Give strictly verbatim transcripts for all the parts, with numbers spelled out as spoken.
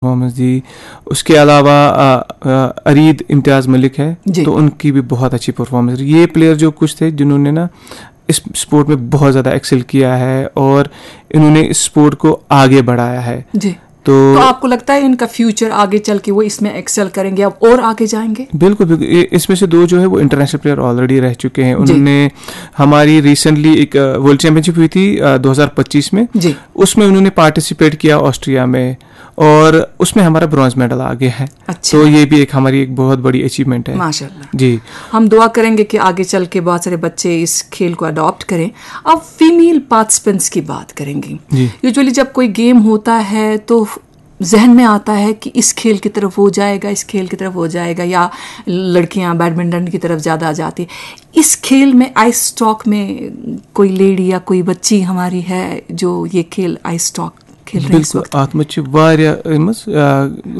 Performance دی۔ اس کے علاوہ آ، آ، ارید امتیاز ملک ہے، جی۔ تو ان کی بھی بہت اچھی پرفارمنس رہی۔ یہ پلیئر جو کچھ تھے جنہوں نے نا اس اسپورٹ میں بہت زیادہ ایکسل کیا ہے اور انہوں نے اس اسپورٹ کو آگے بڑھایا ہے۔ جی۔ تو تو آپ کو لگتا ہے ان کا فیوچر آگے چل کے وہ اس میں ایکسل کریں گے، اب اور آگے جائیں گے؟ بالکل، بالکل۔ یہ، اس میں سے دو جو ہے وہ انٹرنیشنل پلیئر آلریڈی رہ چکے ہیں۔ جی۔ انہوں نے ہماری ریسنٹلی ایک ورلڈ چیمپئن شپ ہوئی تھی دو ہزار پچیس میں، جی۔ اس میں انہوں نے پارٹیسپیٹ کیا آسٹریا میں، اور اس میں ہمارا برانز میڈل آ گیا ہے۔ اچھا۔ تو یہ بھی ایک ہماری ایک بہت بڑی اچیومنٹ ہے۔ ماشاءاللہ۔ جی۔ ہم دعا کریں گے کہ آگے چل کے بہت سارے بچے اس کھیل کو اڈاپٹ کریں۔ اب فیمیل پارٹیسپنٹس کی بات کریں گے۔ جی۔ یوجولی جب کوئی گیم ہوتا ہے تو ذہن میں آتا ہے کہ اس کھیل کی طرف وہ جائے گا، اس کھیل کی طرف وہ جائے گا، یا لڑکیاں بیڈمنٹن کی طرف زیادہ جاتی۔ اس کھیل میں آئس اسٹاک میں کوئی لیڈی یا کوئی بچی ہماری ہے جو یہ کھیل آئس اسٹاک کھیل رہی ہے اس بالکل، وقت؟ اتھ منٛز چھِ واریاہ أمِس، آ،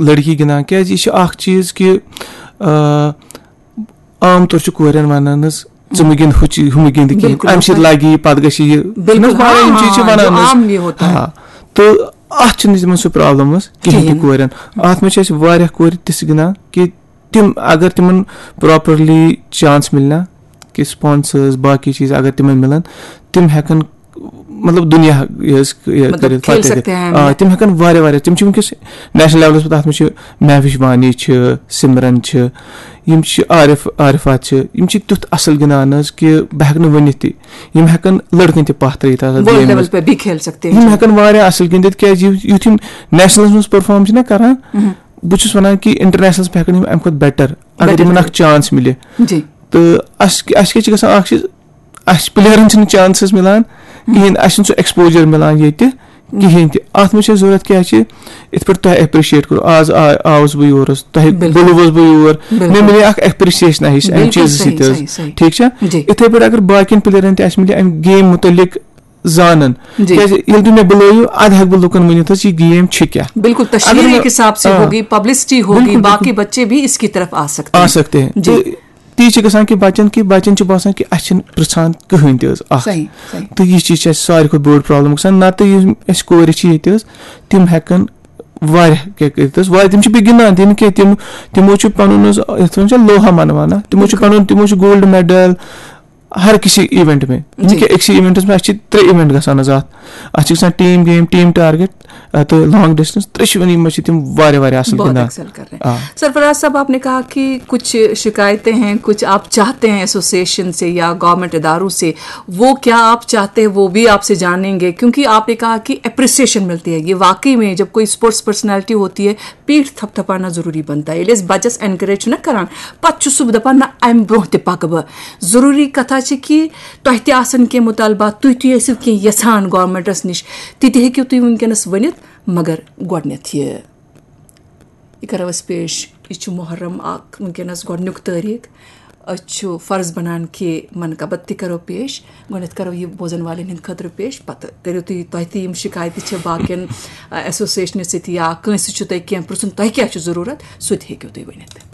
لڑکی گِنٛدان، کیازِ یہِ چھِ اکھ چیٖز کہِ، آ، عام طور چھِ کورٮ۪ن ونان حظ، "ژٕ مہٕ گِنٛد ہُہ چیٖز، ہُہ مہٕ گِنٛد کِہیٖنۍ، بالکل، امہِ سۭتۍ بالکل۔ لگہِ یہِ، پتہٕ گژھِ یہِ۔" بالکل، چھِنہٕ حظ واریاہ یِم ہاں، چیٖز چھِ ہاں، ونان جو حظ۔ عام یہِ ہوتا ہے۔ ہاں، تہٕ اتھ چھِنہٕ تِمن سُہ پرابلم حظ کِہیٖنۍ تہِ کِہیٖنۍ۔ کورٮ۪ن۔ اتھ منٛز چھِ اَسہِ واریاہ کورِ تِژھ گِنٛدان کہِ تِم اگر تِمن پراپرلی چانس مِلہِ نا، کہِ سپانسرز، باقٕے چیٖز اگر تِمن مِلن، تِم ہٮ۪کن مطلب دُنیا یہِ حظ یہِ مطلب کٔرِتھ، کھیل فتح سکتے کٔرِتھ۔ ہیں۔ آ، تِم ہٮ۪کن واریاہ واریاہ، تِم چھِ وٕنکیٚس نیشنل لیولس پٮ۪ٹھ، اتھ منٛز چھِ مہوش وانی چھِ، سمرن چھِ، یِم چھِ عارف، عارفات چھِ، یِم چھِ تیُتھ اصل گِنٛدان حظ کہِ بہٕ ہٮ۪کہٕ نہٕ ؤنِتھ تہِ۔ یِم ہٮ۪کن لڑکن تہِ پتھ ترٲیِتھ اتھ ورلڈ گیمہِ لیول منٛز۔ پہ بھی کھیل سکتے یِم ہیں۔ ہٮ۪کن واریاہ اصل گِنٛدِتھ، کیازِ یُتھ، یُتھ یِم نیشنلس منٛز پرفارم چھِنہ کران، بہٕ چھُس ونان کہِ انٹرنیشنلس پٮ۪ٹھ ہٮ۪کن یِم امہِ کھۄتہٕ بیٹر، اگر بیٹر یِمن اکھ کٔرِتھ۔ چانس مِلہِ۔ جی۔ تہٕ اَسہِ اَسہِ کیٛاہ چھِ گژھان، اَکھ چیٖز، اَسہِ پٕلیرَن چھِنہٕ چانسز مِلان کِہیٖنۍ، اَسہِ چھُنہٕ سُہ ایکسپوجر مِلان ییٚتہِ کِہیٖنۍ تہِ۔ اَتھ منٛز چھِ اَسہِ ضوٚرَتھ کیٛاہ چھِ، یِتھ پٲٹھۍ تۄہہِ ایپرِشیٹ کوٚروٕ، آز آ- آوُس بہٕ یور حظ، تۄہہِ بِلکُل۔ بُلوُس بہٕ یور، بِلکُل۔ مےٚ مِلے اَکھ ایپرِشیشن ہِش اَمہِ بِلکُل چیٖزٕ صحیح، سۭتۍ حظ۔ صحیح، صحیح۔ ٹھیٖک چھا؟ جی۔ یِتھَے پٲٹھۍ اگر باقین پٕلیرَن تہِ اَسہِ مِلہِ اَمہِ گیم مُتعلِق زانن، جی۔ کیٛازِ ییٚلہِ تُہۍ مےٚ بُلٲیِو، اَدٕ ہٮ۪کہٕ بہٕ لُکن ؤنِتھ حظ، یہِ گیم چھِ کیٛاہ۔ بالکل، اگر تشہیر مےٚ- ایک حساب سے آ۔ ہوگی، پبلسٹی ہوگی، بالکل، باقی بالکل۔ بچے بھی اس کی طرف آ سکتے آ ہیں۔ سکتے ہیں۔ جی۔ تو تی چھِ گژھان کہِ بچن کہِ بچن چھِ باسان کہِ اَسہِ چھِنہٕ پرٛژھان کٕہٕنۍ تہِ حظ اکھ۔ صحیح، صحیح۔ تہٕ یہِ چیٖز چھِ اَسہِ ساروی کھۄتہٕ بٔڑ پرابلم گژھان۔ نتہٕ یِم اَسہِ کورِ چھِ ییٚتہِ حظ، تِم ہٮ۪کن واریاہ کینٛہہ کٔرِتھ حظ۔ واریاہ تِم چھِ بیٚیہِ گِنٛدان تہِ نہٕ کینٛہہ، تِم تِمو چھُ پنُن حظ، یَتھ وَنان چھِ لوہا مناوان، تِمو چھُ بِلکُل۔ پنُن، تِمو چھُ گولڈ میڈل ہر کسی ایونٹ میں۔ جی۔ کہِ أکسٕے ایونٹس منٛز اَسہِ چھِ ترٛےٚ ایونٹ گژھان حظ اَتھ۔ اَتھ چھِ گژھان ٹیٖم گیم، ٹیٖم ٹارگیٹ، آ، تہٕ لانگ ڈسٹنس، ترٛیٚشوٕنی منٛز چھِ تِم واریاہ واریاہ اَصٕل بہت گِنٛدان۔ ایکسل کر رہے آ۔ ہیں۔ سرفراز صاحب، آپ نے کہا کہ کچھ شکایتیں ہیں، کچھ آپ چاہتے ہیں ایسوسیشن سے یا گورنمنٹ اداروں سے، وہ کیا آپ چاہتے ہیں وہ بھی آپ سے جانیں گے، کیونکہ آپ نے کہا کہ اپریسیشن ملتی ہے۔ یہ واقعی میں جب کوئی اسپورٹس پرسنالٹی ہوتی ہے، پیٹھ تھپ تھپانا ضروری بنتا ہے۔ ییٚلہِ أسۍ بچس اینکریج چھِنہ کران، پتہٕ چھُ سُہ دپان، نہ، امہِ برونٛہہ تہِ پکہٕ بہٕ۔ ضروری کتھا چھِ کہِ تۄہہِ تہِ آسن کینٛہہ مطالبات، تُہۍ تہِ ٲسِو کینٛہہ یژھان گورنمنٹس نِش، تہِ تہِ ہیٚکِو تُہۍ وٕنکیٚنس ؤنِتھ، مگر گۄڈٕنیتھ یہِ۔ یہِ کرو أسۍ پیش۔ یہِ چھُ محرم اکھ، وٕنکیٚنس گۄڈٕنیُک تٲریٖخ۔ أسۍ چھُ فرض بنان کہِ منقبت تہِ کرو پیش۔ گۄڈٕنیتھ کرو یہِ بوزن والٮ۪ن ہٕنٛدِ خٲطرٕ پیش، پتہٕ کٔرِو تُہۍ، تۄہہِ تہِ یِم شکایتہٕ چھِ باقین، آ، ایسوسیشنہِ سۭتۍ یا کٲنٛسہِ چھُ تۄہہِ کینٛہہ پرٛژھُن، تۄہہِ کیٛاہ چھُ ضروٗرت، سُہ تہِ ہیٚکِو تُہۍ ؤنِتھ۔